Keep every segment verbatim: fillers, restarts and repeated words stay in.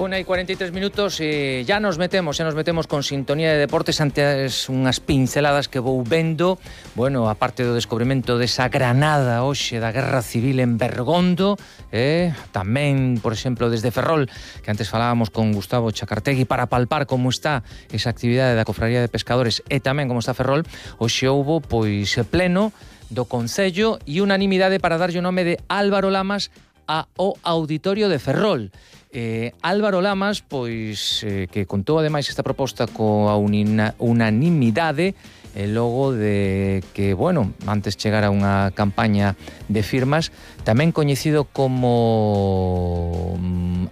Una y cuarenta y tres minutos e ya nos metemos, xa nos metemos con sintonía de deportes. Antes unhas pinceladas que vou vendo. Bueno, a parte do descubrimento desa granada hoxe da Guerra Civil en Bergondo, eh? Tamén, por exemplo, desde Ferrol, que antes falábamos con Gustavo Chacartegui para palpar como está esa actividade da Cofradía de Pescadores e tamén como está Ferrol. Hoxe houbo, pois, pleno do Concello e unanimidade para darlle o nome de Álvaro Lamas ao Auditorio de Ferrol. Eh, Álvaro Lamas, pois, eh, que contou ademais esta proposta coa unanimidade e logo de que, bueno, antes chegara unha campaña de firmas, tamén coñecido como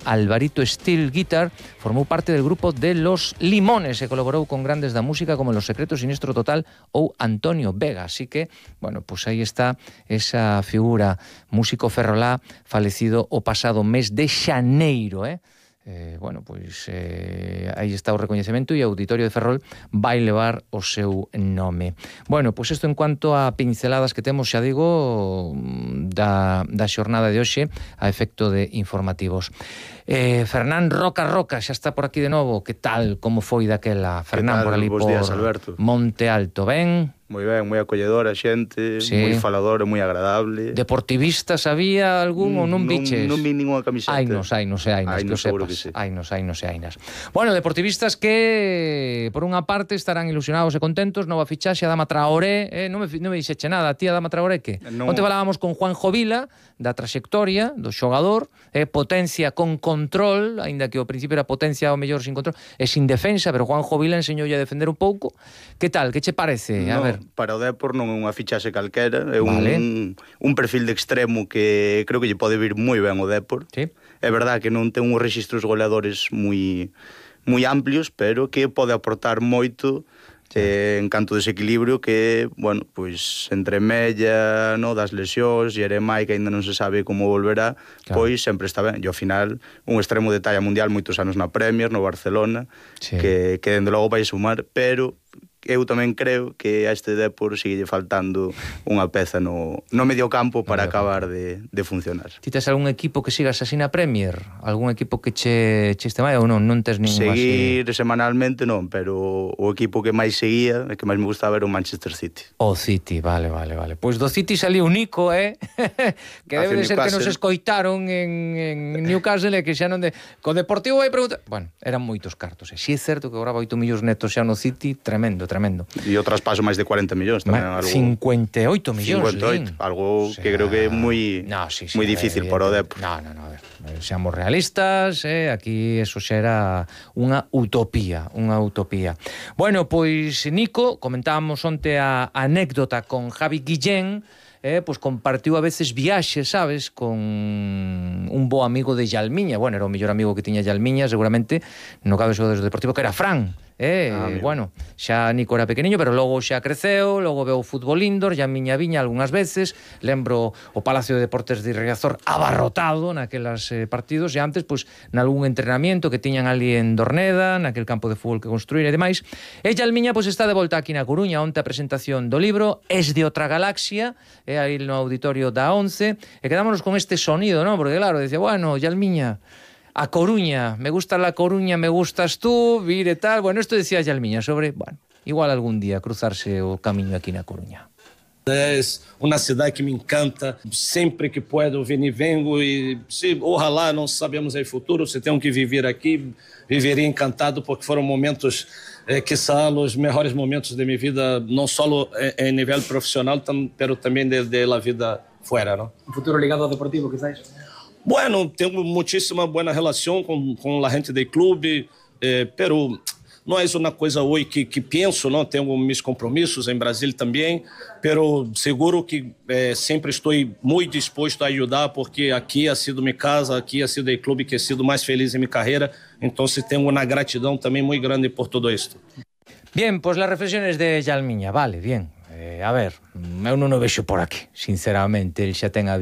Alvarito Steel Guitar, formou parte del grupo de Los Limones e colaborou con grandes da música como Los Secretos, Sinistro Total ou Antonio Vega. Así que, bueno, pues aí está esa figura, músico ferrolá, falecido o pasado mes de xaneiro, eh? Eh, bueno, pois eh, aí está o recoñecemento e o Auditorio de Ferrol vai levar o seu nome. Bueno, pois isto en cuanto a pinceladas que temos, xa digo, da, da xornada de hoxe a efecto de informativos. Eh, Fernán Roca Roca xa está por aquí de novo. Que tal, como foi daquela? Fernán, por ali por días, Alberto. Monte Alto, ben? Moi ben, moi acolledora a xente, sí. Moi faladora, moi agradable. Deportivistas había algún mm, ou non biches? Non, non vi ninguna camiseta. Ainos, ainos e ainas, que o sepas. Que sí. Ainos, ainos e ainas. Bueno, deportivistas que, por unha parte, estarán ilusionados e contentos. Nova fichaxe a Adama Traoré. Eh, non, me, non me dixeche nada. A ti, Adama Traoré, que? Non... Onte falábamos con Juanjo Vila, da traxectoria, do xogador, eh, potencia con control, aínda que ao principio era potencia ao mellor sin control, e sin defensa, pero Juanjo Vila enseñoulle a defender un pouco. Que tal? Que che parece? A No. ver. Para o Depor non é unha fichaxe calquera, é vale. un, un perfil de extremo que creo que lle pode vir moi ben o Depor. Sí. É verdad que non ten uns registros goleadores moi moi amplios, pero que pode aportar moito sí. eh, en canto desequilibrio que, bueno, pois entre Mella, no, das lesións, Jeremai, que aínda non se sabe como volverá, claro. Pois sempre está ben. E ao final, un extremo de talla mundial, moitos anos na Premier, no Barcelona, sí. que, que dende logo vai sumar, pero eu tamén creo que a este Depor sigue faltando unha peza no, no medio campo para no acabar de, de funcionar. Ti tes algún equipo que sigas así na Premier? Algún equipo que che, che este máis ou non? Non tes ningún Seguir así? semanalmente non, pero o equipo que máis seguía e que máis me gustaba era o Manchester City. O City, vale, vale, vale. Pois do City saliu Nico, eh? que debe de ser que nos escoitaron en, en Newcastle e que xa non de... Co Deportivo vai preguntar... Bueno, eran moitos cartos, e si é certo que agora oito millóns netos xa no City, tremendo, tremendo. E o traspaso máis de cuarenta millóns tamén. Ma, algo, cincuenta e oito millóns, cincuenta e oito, algo o sea, que creo que é moi no, sí, sí, moi difícil eh, para o Depor. No, no, no, a ver, seamos realistas, eh, aquí eso xa era unha utopía, unha utopía. Bueno, pois Nico, comentábamos onte a anécdota con Javi Guillén, eh, pois compartiu a veces viaxes, sabes, con un bo amigo de Yalmiña. Bueno, era o mellor amigo que tiña Yalmiña, seguramente, no cabe do Deportivo, que era Fran. Eh, ah, bueno, xa Nico era pequeniño, pero logo xa creceu, logo veu o fútbol indoor, xa miña viña algunhas veces, lembro o Palacio de Deportes de Riazor abarrotado naquelas eh, partidos, e antes, pois, nalgún entrenamiento que tiñan ali en Dorneda, naquel campo de fútbol que construíra e demais. E Yalmiña, pois, está de volta aquí na Coruña, onte a presentación do libro Es de outra galaxia, e aí no auditorio da once, e quedámonos con este sonido, non? Porque claro, decía, bueno, Yalmiña, a Coruña, me gusta la Coruña, me gustas tú, vir e tal. Bueno, esto decía Yalmiña sobre, bueno, igual algún día cruzarse o camiño aquí na Coruña. Es una ciudad que me encanta, siempre que puedo venir vengo y si ojalá no sabemos el futuro, si tengo que vivir aquí, vivería encantado porque fueron momentos, eh, quizá los mejores momentos de mi vida, no solo en, en nivel profesional, tam, pero también de, de la vida fuera, ¿no? Un futuro ligado al deportivo, quizás. Bueno, tengo muchísima buena relación con, con la gente del club, eh, pero no es una cosa hoy que, que pienso, ¿no? Tengo mis compromisos en Brasil también, pero seguro que eh, siempre estoy muy dispuesto a ayudar porque aquí ha sido mi casa, aquí ha sido el club que he sido más feliz en mi carrera, entonces tengo una gratitud también muy grande por todo esto. Bien, pues las reflexiones de Yalmiña, vale, bien. Eh, a ver, eu non o vexo por aquí, sinceramente, el xa ten a